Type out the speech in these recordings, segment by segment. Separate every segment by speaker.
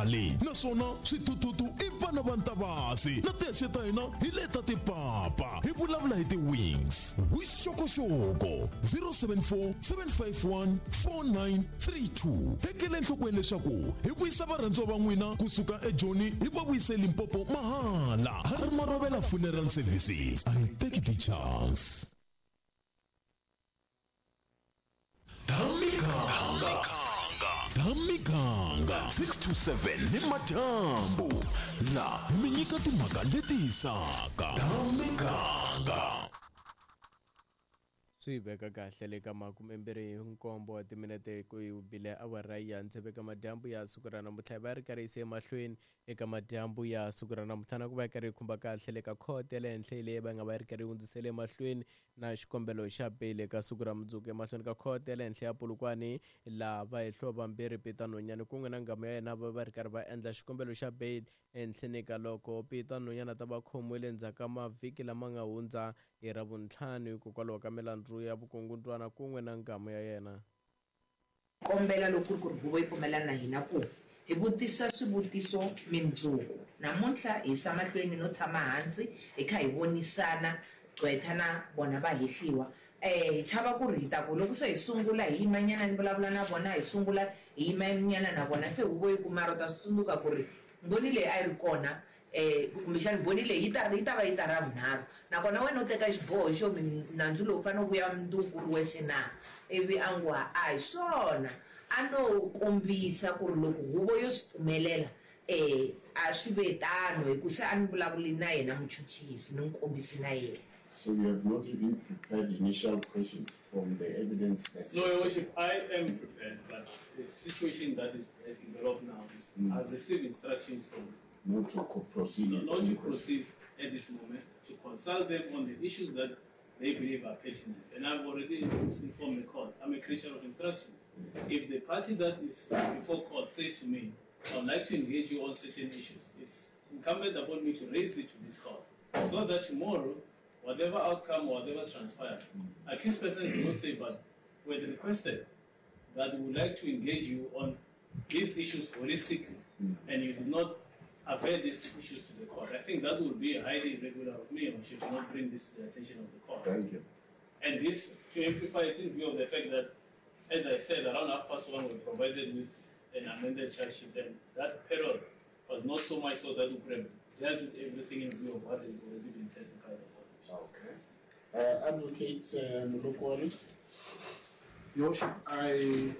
Speaker 1: khale naswona swithuthuthu i vana va ntavasi na tihexe ta hina hi leta tipapa hi vulavula hi ti-wings vuxokoxoko 074 751 4932 tekela enhlokweni leswaku hi vuyisa varhandziwa va n'wina kusuka ejoni hi va vuyise limpopo mahala ha ri marovela funeral services a hi teki ti-chance Thamikanga 6 to 7 ni madyambu la mi nyika timhaka leti hisaka Thamikanga
Speaker 2: swi veka kahle le ka 27 wa timinete ku yi bile awara ya tsevu eka madyambu ya siku ra namuntlha hi va ri karhi yise emahlweni eka madyambu ya siku ra namuntlha na ku va yi karhi yi khumba kahle le ka khoto ya le henhla leyi va nga va yi ri karhi yi hundzisele emahlweni na xikombelo xa beyili eka siku ra mundzuku emahlweni ka khoto ya le henhla ya Polokwane laha vahehliwa vambirhi Peter Nonyane kun'we na nghamu ya yena va va ri karhi va endla xikombelo xa beyili ehenhleni ka loko Peter Nonyane a ta va khomiwile endzhaku ka mavhiki lama nga hundza hi Ravuntlhanu hikokwalaho ka milandzu ya vukungundzwana kun'we na nghamu ya yena.
Speaker 3: Kombela loko ku ri ku ri huvo yi pfumelana na hina ku hi vutisa swivutiso mindzuku. Namuntlha hi yisa mahlweni no tshama hansi hi kha hi vonisana gqwetha na vona va hehliwa. Hi chava ku ri hi ta ku loko se hi sungula hi yima nyana ni vulavula na vona hi sungula hi yima nyana na vona se huvo yi ku mara u ta swi tsundzuka ku ri mbhoni leyi a yi ri kona Kumbexana mbhoni leyi yi ta yi ta va yi ta ra vunharhu, nakona wena u teka xiboho xo mi nandzu lowu fanele wu vuya mundzuku wu ri wexe na? Ivi a ngo, A hi swona. A no kombisa ku ri loko huvo yo swi pfumelela, a swi ve tano, hi ku se a ni vulavuli na yena muchuchisi, ni n'wi kombisi na yena.
Speaker 4: So you have not even prepared initial questions from the evidence that
Speaker 5: No, Your Worship, I am prepared, but the situation that is developed now is I've received instructions from
Speaker 4: Not to proceed with
Speaker 5: not
Speaker 4: any
Speaker 5: to
Speaker 4: questions.
Speaker 5: proceed at this moment, to consult them on the issues that they believe are pertinent. And I've already informed the court. I'm a creature of instructions. If the party that is before court says to me, I would like to engage you on certain issues, it's incumbent upon me to raise it to this court, so that tomorrow, whatever outcome or whatever transpires, accused persons will not say, but we had requested that we would like to engage you on these issues holistically, and you did not avail these issues to the court. I think that would be highly irregular of me, or should not bring this to the attention of the court.
Speaker 4: Thank you.
Speaker 5: And this, to amplify, is in view of the fact that, as I said, around 1:30 we were provided with an amended charge sheet, and that period was not so much so that we could have dealt with everything in view of what has already been testified about.
Speaker 4: Okay. Advocate Molokoane.
Speaker 6: Your Worship, I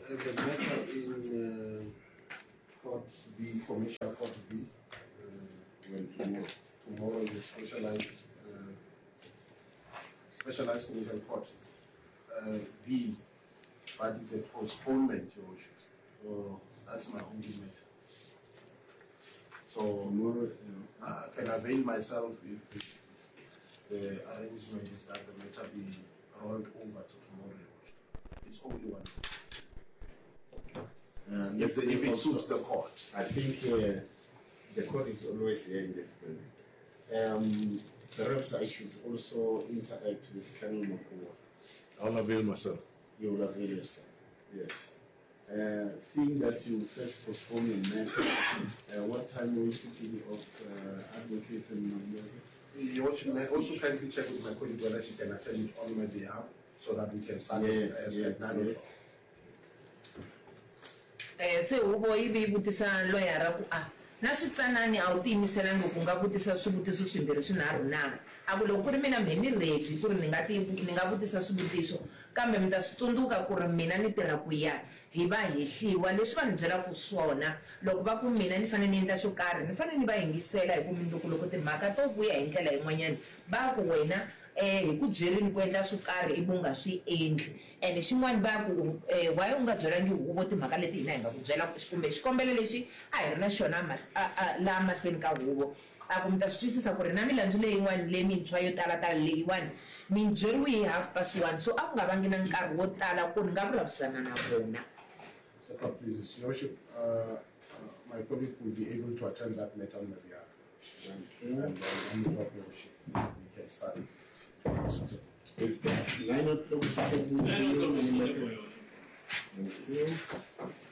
Speaker 6: have a matter in Court B, Commercial Court B.
Speaker 4: When tomorrow?
Speaker 6: Tomorrow is a specialized commercial court B, but it's a postponement, Your Worship. So that's my only matter. So
Speaker 4: tomorrow,
Speaker 6: I can avail myself if the arrangement is that the matter be rolled over to tomorrow. It's only one. If it suits the court.
Speaker 4: I think the court is always here in this building. Perhaps I should also interact with Colonel Makua.
Speaker 7: I'll avail myself.
Speaker 4: You will avail yourself, yes. Seeing that you first postpone your matter, what time were you thinking of Advocate Mabuyane?
Speaker 6: Your Worship, may I also kindly check with my colleague whether she can attend it on my behalf so that we can start as at 9 o'clock.
Speaker 3: Se huvo yi vi yi vutisa loyara ku, A na switsanani a wu tiyimiselangi ku nga vutisa swivutiso swimbirhi swinharhu na? A ku, Loko ku ri mina mhe ni ready ku ri ni nga ti ni nga vutisa swivutiso, kambe mi ta swi tsundzuka ku ri mina ni tirha ku ya hi va hehliwa leswi va ni byelaka swona. Loko va ku mina ni fanele ni endla xo karhi, ni fanele ni va yingisela hi ku mundzuku loko timhaka to vuya hi ndlela yin'wanyana va ku wena hi ku byerini ku endla swo karhi ivi u nga swi endli. Ene xin'wana va ku, Why u nga byelangi huvo timhaka leti hina hi nga ku byela kumbe xikombelo lexi a hi ri na xona laha mahlweni ka huvo? A ku, Mi ta swi twisisa ku ri na milandzu leyin'wana lemintshwa yo tala-tala leyiwani ni byeriwe hi 1:30, so a ku nga vangi na nkarhi wo tala ku ni nga vulavurisana na vona.
Speaker 6: Sir, please, Your Worship, my colleague will be able to attend that matter on my behalf. And then we drop Your Worship. We can start it.
Speaker 4: Is that 9 o'clock suitable?
Speaker 5: 9 o'clock is suitable, Your Worship.
Speaker 4: Thank you.